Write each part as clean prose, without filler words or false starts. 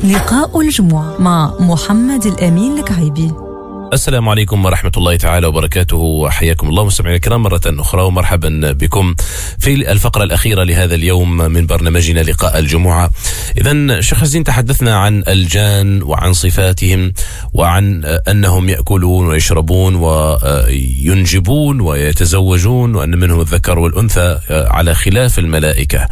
لقاء الجمعة مع محمد الأمين الكعيبي. السلام عليكم ورحمة الله تعالى وبركاته، وحياكم الله مستمعينا الكرام مرة أخرى، ومرحبا بكم في الفقرة الأخيرة لهذا اليوم من برنامجنا لقاء الجمعة. إذن شيخ عزين، تحدثنا عن الجان وعن صفاتهم وعن أنهم يأكلون ويشربون وينجبون ويتزوجون، وأن منهم الذكر والأنثى على خلاف الملائكة.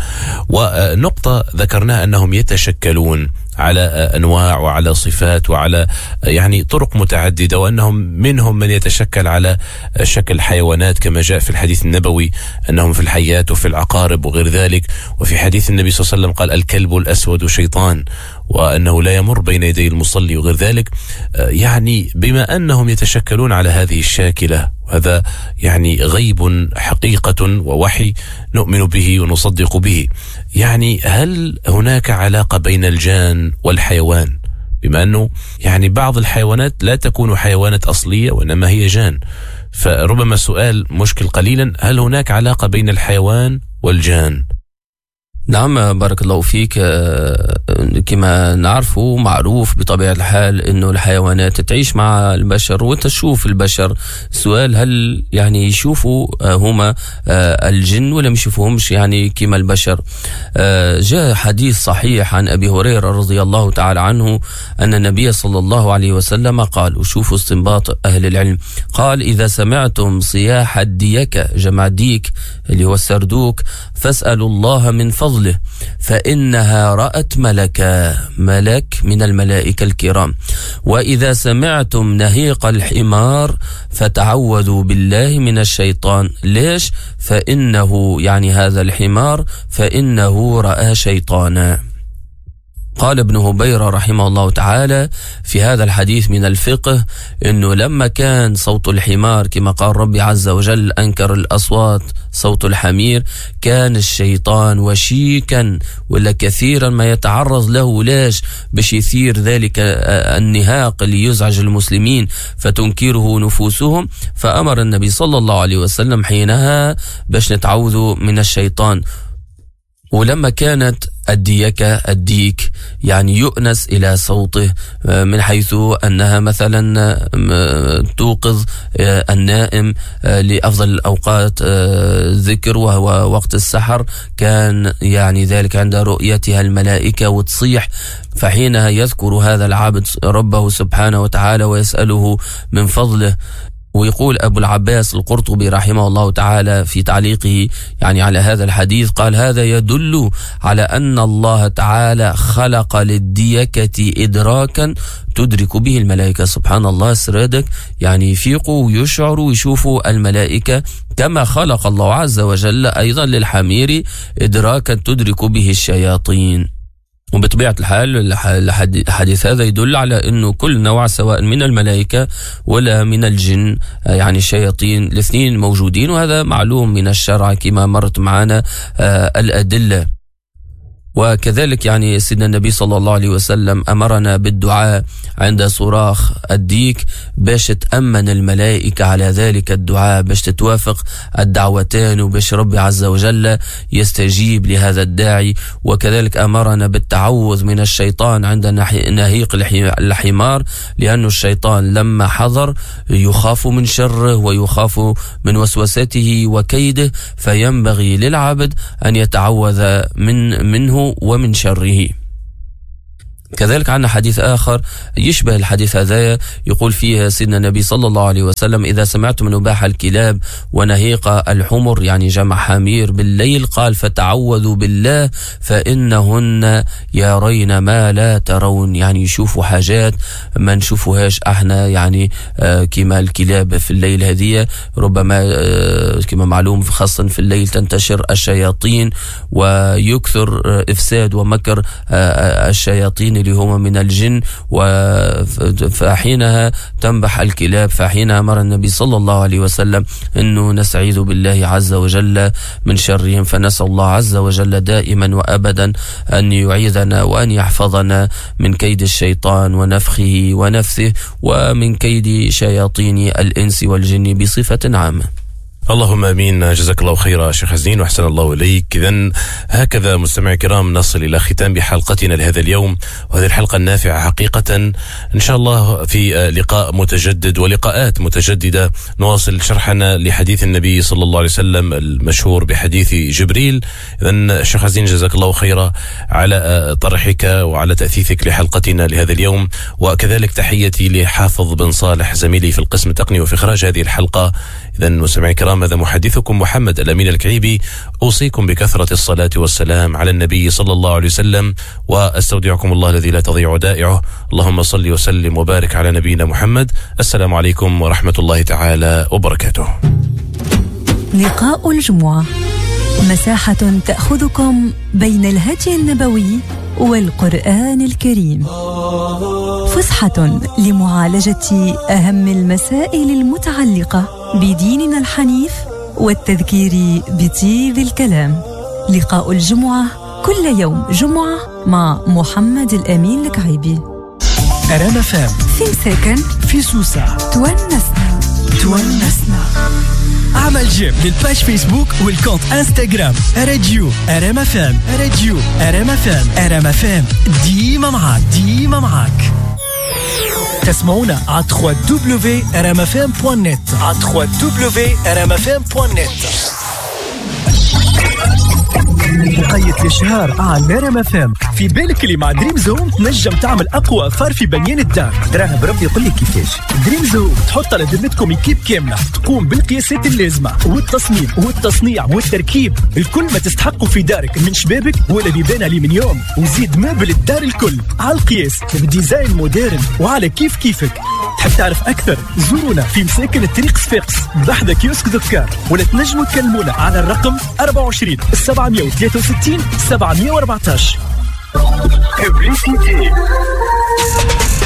ونقطة ذكرناها أنهم يتشكلون على أنواع وعلى صفات وعلى يعني طرق متعددة، وأنهم منهم من يتشكل على شكل حيوانات كما جاء في الحديث النبوي أنهم في الحيات وفي العقارب وغير ذلك. وفي حديث النبي صلى الله عليه وسلم قال الكلب الأسود شيطان، وأنه لا يمر بين يدي المصلي وغير ذلك. يعني بما أنهم يتشكلون على هذه الشاكلة، وهذا يعني غيب حقيقة ووحي نؤمن به ونصدق به، يعني هل هناك علاقة بين الجان والحيوان؟ بما أنه يعني بعض الحيوانات لا تكون حيوانات أصلية وإنما هي جان، فربما سؤال مشكل قليلا، هل هناك علاقة بين الحيوان والجان؟ نعم، بارك الله فيك. كما نعرفه معروف بطبيعة الحال أنه الحيوانات تعيش مع البشر وتشوف البشر. السؤال هل يعني يشوفوا هما الجن ولا ما يشوفوهمش يعني كما البشر؟ جاء حديث صحيح عن أبي هريرة رضي الله تعالى عنه أن النبي صلى الله عليه وسلم قال، وشوفوا استنباط أهل العلم، قال: إذا سمعتم صياح الديكة، جمع ديك اللي هو السردوك، فاسألوا الله من فضله فإنها رأت ملكا، ملك من الملائكة الكرام. وإذا سمعتم نهيق الحمار فتعوذوا بالله من الشيطان. ليش؟ فإنه يعني هذا الحمار فإنه رأى شيطانا. قال ابن هبيرة رحمه الله تعالى في هذا الحديث من الفقه أنه لما كان صوت الحمار كما قال ربي عز وجل أنكر الأصوات صوت الحمير، كان الشيطان وشيكا ولا كثيرا ما يتعرض له. ليش؟ باش يثير ذلك النهاق اللي يزعج المسلمين فتنكره نفوسهم. فأمر النبي صلى الله عليه وسلم حينها باش نتعوذ من الشيطان. ولما كانت الديكة الديك يعني يؤنس إلى صوته، من حيث أنها مثلا توقظ النائم لأفضل الأوقات ذكر وهو وقت السحر، كان يعني ذلك عند رؤيتها الملائكة وتصيح، فحينها يذكر هذا العبد ربه سبحانه وتعالى ويسأله من فضله. ويقول أبو العباس القرطبي رحمه الله تعالى في تعليقه يعني على هذا الحديث، قال: هذا يدل على أن الله تعالى خلق للديكة إدراكا تدرك به الملائكة. سبحان الله، سرادك يعني يفيقوا ويشعروا ويشوفوا الملائكة، كما خلق الله عز وجل أيضا للحمير إدراكا تدرك به الشياطين. وبطبيعة الحال الحديث هذا يدل على أنه كل نوع سواء من الملائكة ولا من الجن يعني الشياطين الاثنين موجودين، وهذا معلوم من الشرع كما مرت معنا الأدلة. وكذلك يعني سيدنا النبي صلى الله عليه وسلم أمرنا بالدعاء عند صراخ الديك باش تأمن الملائكة على ذلك الدعاء، باش تتوافق الدعوتان وباش ربي عز وجل يستجيب لهذا الداعي. وكذلك أمرنا بالتعوذ من الشيطان عند نهيق الحمار، لأن الشيطان لما حضر يخاف من شره ويخاف من وسوسته وكيده، فينبغي للعبد أن يتعوذ منه ومن شره. كذلك عندنا حديث آخر يشبه الحديث هذا، يقول فيه سيدنا النبي صلى الله عليه وسلم: إذا سمعتم نباح الكلاب ونهيق الحمر يعني جمع حمير بالليل، قال: فتعوذوا بالله فإنهن يرين ما لا ترون. يعني يشوفوا حاجات ما نشوفوهاش احنا، يعني كما الكلاب في الليل هذه ربما كما معلوم خاصة في الليل تنتشر الشياطين ويكثر إفساد ومكر الشياطين اللي هما من الجن، فحينها تنبح الكلاب. فحينها أمر النبي صلى الله عليه وسلم أنه نستعيذ بالله عز وجل من شرهم. فنسأل الله عز وجل دائما وأبدا أن يعيذنا وأن يحفظنا من كيد الشيطان ونفخه ونفثه ومن كيد شياطين الإنس والجن بصفة عامة. اللهم امين. جزاك الله خيرا شيخ عزين واحسن الله اليك. اذا هكذا مستمعي الكرام نصل الى ختام حلقتنا لهذا اليوم، وهذه الحلقة النافعة حقيقة. ان شاء الله في لقاء متجدد ولقاءات متجددة نواصل شرحنا لحديث النبي صلى الله عليه وسلم المشهور بحديث جبريل. اذا شيخ عزين جزاك الله خيرا على طرحك وعلى تاثيثك لحلقتنا لهذا اليوم، وكذلك تحيتي لحافظ بن صالح زميلي في القسم التقني وفي اخراج هذه الحلقة. اذا مستمعي الكرام، هذا محدثكم محمد الأمين الكعيبي، أوصيكم بكثرة الصلاة والسلام على النبي صلى الله عليه وسلم، وأستودعكم الله الذي لا تضيع ودائعه. اللهم صل وسلم وبارك على نبينا محمد. السلام عليكم ورحمة الله تعالى وبركاته. لقاء الجمعة، مساحة تأخذكم بين الهدي النبوي والقرآن الكريم، فسحة لمعالجة أهم المسائل المتعلقة بديننا الحنيف والتذكير بطيب الكلام. لقاء الجمعة كل يوم جمعة مع محمد الأمين الكعيبي. أرانا فام في مساكن، في سوسة، تونسنا تونسنا. اعمل j'aime لل page فيسبوك وال compte انستغرام راديو ار ام اف ام، راديو ار ام اف ام، ار ام اف ام ديما معاك، ديما معاك. تسمعونا على 3w.rmfm.net، على 3w.rmfm.net. وقيت الشهر على ار ام اف ام. في بالك اللي مع دريم زون تنجم تعمل اقوى affaire في بنيان الدار. تراه بربي يقول لك كيفاش. دريم زون تحط على ذمتكم équipe كاملة تقوم بالقياسات اللازمة والتصميم والتصنيع والتركيب، الكل ما تستحقوا في دارك من شبابك ولا بيبان الومنيوم، وزيد meuble الدار الكل على القياس ب design moderne وعلى كيف كيفك. تحب تعرف اكثر؟ زورونا في مساكن الطريق صفاقس بحذا كيوسك دكار، ولا تنجموا تكلمونا على الرقم 24 763 714.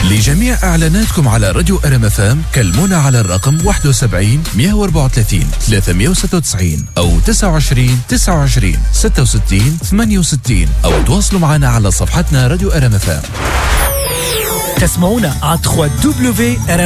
لجميع إعلاناتكم على راديو ار ام اف ام كلمونا على الرقم 71 134 396 أو 29 29 66 68، أو تواصلوا معنا على صفحتنا راديو ار ام اف ام. تسمعونا على 3w.rmfm.net.